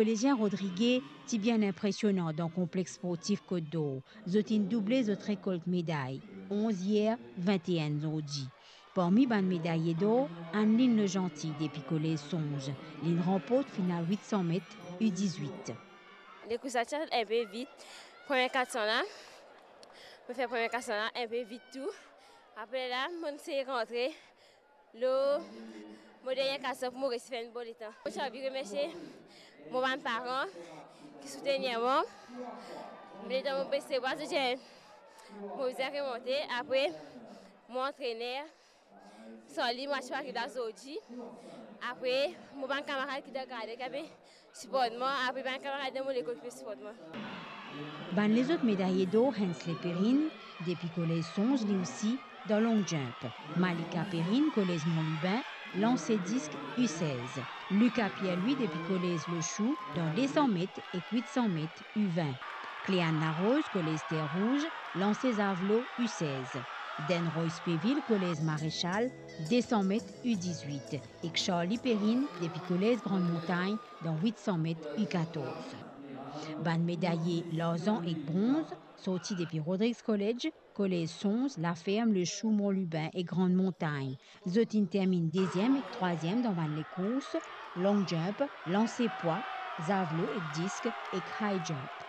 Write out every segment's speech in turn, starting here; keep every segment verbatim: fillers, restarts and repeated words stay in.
Kolezien Rodrige ti bien inpresionan dan konplex sportif Kot Dor. Zot inn double zot rekolt meday, onz yer, vinte-enn zordi. Parmi bann medaye dor, Anneline Legentil depi Kolez Sonz, linn ranport final wit san met U dizwit. Lekours la ti al inpe vit, premie kat san la, mo fer premie kat san la inpe vit tou. Apre la, mo'nn sey rantre lor mo dernie kat san pou mo resi fer enn bon letan. Mo ti anvi remersie mo bann paran ki soutenir mwa. Me letan mo bes lebwa, zot dir mo bizin remonte. Apre, mo antrener, san li, mo ti ariv la zordi. Apre, mo bann kamarad ki dan garden ki pe siport mwa, apre bann kamarad dan mo lekol ki pe siport mwa. Bann lezot medaye dor, Hensley Perrine, depi Kolez Sonz, li osi dan long jump. Malika Perrine, Kolez Mont Lubin, lanse disk U sez. Lucas Pierre-Louis depi Kolez Le Chou, dan de san met ek wit san met, U vin. Cléane Larose, Kolez Terre Rouge, lanse zavlo, U sez. Denroy Spéville, Kolez Maréchal, de san met, U dizwit, ek Charlie Perrine depi Kolez Grande Montagne, dan wit san met, U katorz. Bann medaye larzan ek bronz sorti depi Rodrigues College, Kolez Sonz, Laferm, Le Chou, Mont Lubin ek Grande Montagne. Zot inn terminn deziem ek trwaziem dan bann lekours, long jump, lanse pwa, zavlo ek disk ek high jump.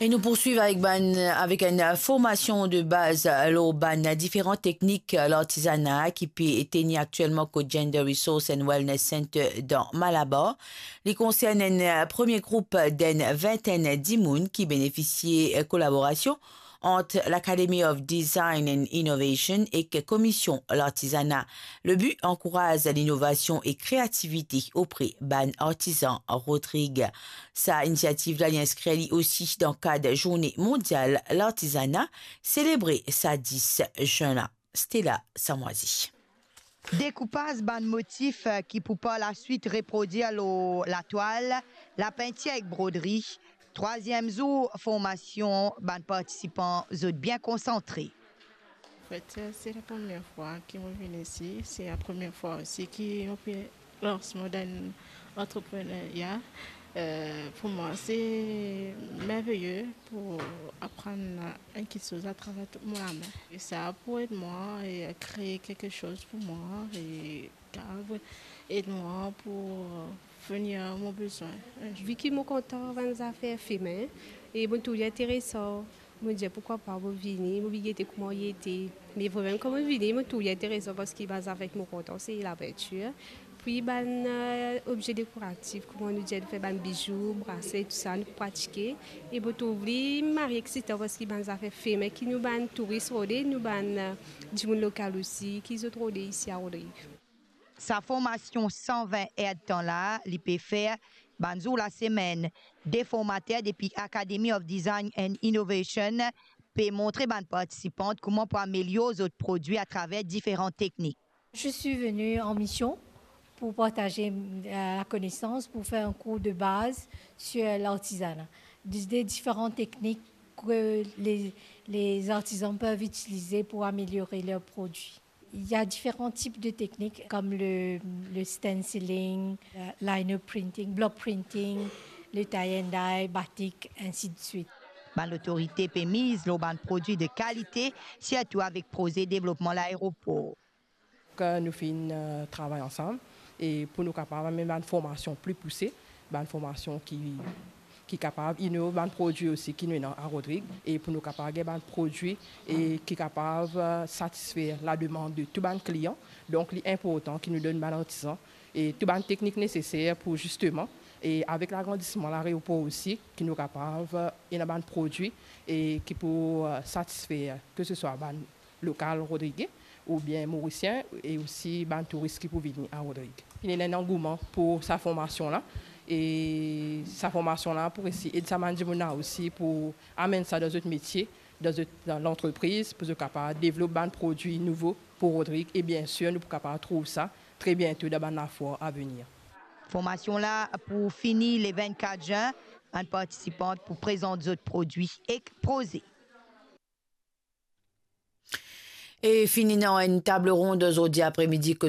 E nou poursuiv avek bann, avek enn formasion de baz lor bann diferan teknik lartizana ki pe teni aktielman kot Gender Resource and Wellness Center dan Malabar. Li konsern enn premie group d'enn vintenn dimoun ki benefisie kolaborasion ant l'Academy of Design and Innovation ek Komision Lartizana. Le bi, ankouraz linovasion e kreativite opre bann artizan Rodrig. Sa inisiativ la, li inskrir li osi dan kad Zourne Mondial Lartizana, selebre sa dis zin la. Stella Samwazi. Dekoupaz bann motif, eh, ki pou par laswit reprodwir lor latwal, lapintir ek brodri. Trwaziem zour formasion, bann partisipan zot bien konsantre. Anfet, se la premie fwa ki mo vinn isi, se la premie fwa osi ki mo pe lans mo dan antreprenerya. Eh, pou mwa, se merveye pou aprann enn kiksoz atraver tou mo lame. E sa pou ed mwa e kree kiksoz pou mwa e kapav ed mwa pou venir mo bizin. Vi ki mo kontan bann zafer fime e mo trouv li interesan. Mo dir, "Pourkwa pa mo vini, mo vinn gete kouma li ete." Me vremem, kan mo vini, mo trouv li interesan parski bann zafer ki mo kontan, se lapintir. Pi bann, eh, obze dekoratif, kouma nou dir, nou fer bann bizou, brasle, tou sa, nou pratike. E mo trouv li mari eksitan parski bann zafer fime ki nou bann touris rode, nou bann, eh, dimoun lokal osi, ki zot rode isi a Rodrig. Sa formasion san vin erdtan la, li pe fer bann zour lasemenn. De formater depi Academy of Design and Innovation pe montre bann partisipan kouma pou amelior zot prodwi atraver diferan teknik. Je suis venue en mission pour partager, euh, la connaissance, pour faire un cours de base sur l'artisanat, des, des différentes techniques que les, les artisans peuvent utiliser pour améliorer leurs produits. Il y a différents types de techniques comme le, le stenciling, euh, lino printing, block printing, le tie and dye, batik, ainsi de suite. Bann lotorite pe miz lor bann prodwi de kalite, sirtou avek proze devlopman laeropor. Ke nou finn, eh, travay ansam e pou nou kapav amenn bann formasion pli pouse, bann formasion ki, ki kapav inov bann prodwi osi ki nou ena a Rodrig, e pou nou kapav gagn bann prodwi e ki kapav, eh, satisfer lademann de tou bann klian. Donk, li inportan ki nou donn bann artizan e tou bann teknik neseser pou zisteman, e avek lagrandisman laeropor osi, ki nou kapav, eh, ena bann prodwi e ki pou, eh, satisfer ke se swa bann lokal rodrige oubien morisien e osi bann touris ki pou vini a Rodrig. Ena enn angouman pou sa formasion la e sa formasion la pou resi ed sa bann dimoun la osi pou amenn sa dan zot metie, dan zot, dan lantrepriz pou zot kapav devlop bann prodwi nouvo pou Rodrig e biensir nou pou kapav trouv sa tre biento dan bann lafwar avenir. Formasion la pou fini le vennkat zin, bann partisipan pou prezant zot prodwi ek proze. E fini dan enn tabl ronn zordi apremidi kot